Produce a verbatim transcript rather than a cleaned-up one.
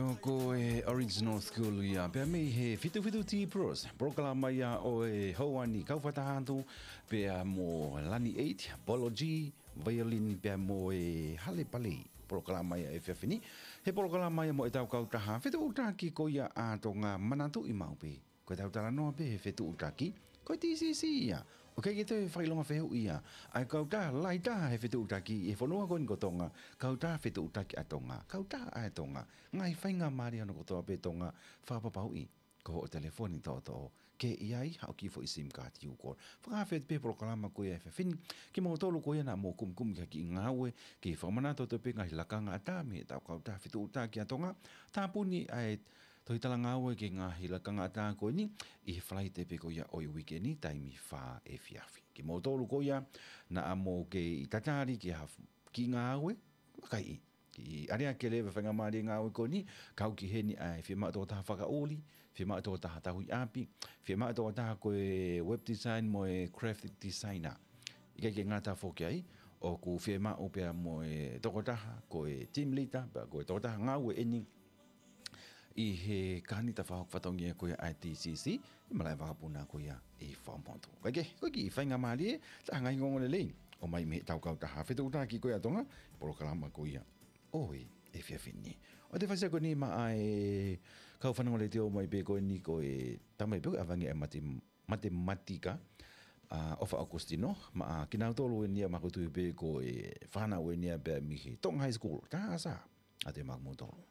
Ko e Original School ia, pea mei he fitu fitu T Pros, polokalama ia ʻo e houa ni, kau fakataha atu pea mo Lani Eight, Polo G, Violin pea mo e Hale Palei. Polokalama ia ʻo e efiafi ni, he polokalama ia mo ʻetau kautaha fetuʻutaki ko ia ʻa Tonga, manatuʻi maʻu pē. Ko ʻetau talanoa pē he fetuʻutaki, ko e T C C ia. ʻOku ʻikai ke toe fakaʻilonga fehuʻi ia. ʻA e kautaha lahi taha he fetuʻutaki ʻi he fonua ko eni ko Tonga, kautaha fetuʻutaki ʻa Tonga, kautaha ʻa Tonga. Ngaahi faingamālie hono kotoa pē Tonga, fakapapauʻi ko hoʻo telefoni toʻotoʻo ke ʻi ai haʻo kiʻi foʻi SIM card you call. Fakafeʻao pē polokalama ko ia he efiafi ni kimoutolu ko ia naʻa mou kumikumi ki ha kiʻi ngāue, ke fakamanatu atu pē ngaahi lakanga ʻatā mei heʻetau kautaha fetuʻutaki ʻa Tonga. Tāpuni ʻa e tohi talangāue ki he ngaahi lakanga ʻatā ko eni ʻi he Falaite pē ko ia ʻo e uike ni, taimi fā efiafi. Kimoutolu ko ia naʻa mou kei tatali ki ha f-, kiʻi ngāue, makaiʻi. Kiʻi ʻalea ke leva faingamālie ngāue ko eni, kau ki heni ʻa e fiemaʻu tokotaha fakaʻuli, fiemaʻu tokotaha tauhi ʻapi, fiemaʻu tokotaha ko e web design mo e graphic designer. ʻIkai ke ngata foki ai, ʻoku fiemaʻu pea mo e tokotaha ko e team leader, pea ko e tokotaha ngāue eni ʻi he kāinga fakahoko fatongia ko ia ʻa e T C C, ʻi malaʻe vakapuna ko ia ʻi Fuaʻamotu. Kae kehe, ko e kiʻi faingamālie, taha ngaahi ongoongolelei ʻomai mei heʻetau kautaha fetuʻutaki ko ia ʻa Tonga, polokalama ko ia ʻo e efiafi ni. ʻOku te fai sio ko eni maʻa e kau fanongo letiō mai pē ko eni ko e tamai pē ko e ʻavangi ʻa e mate-, matematika, ʻa ʻOfa ʻOkusitino, maʻa kinautolu eni ia ʻoku ou tui pē ko e fānau eni ia pea mei he Tonga High School, Taha Sā, ʻa e maʻa kimoutolu.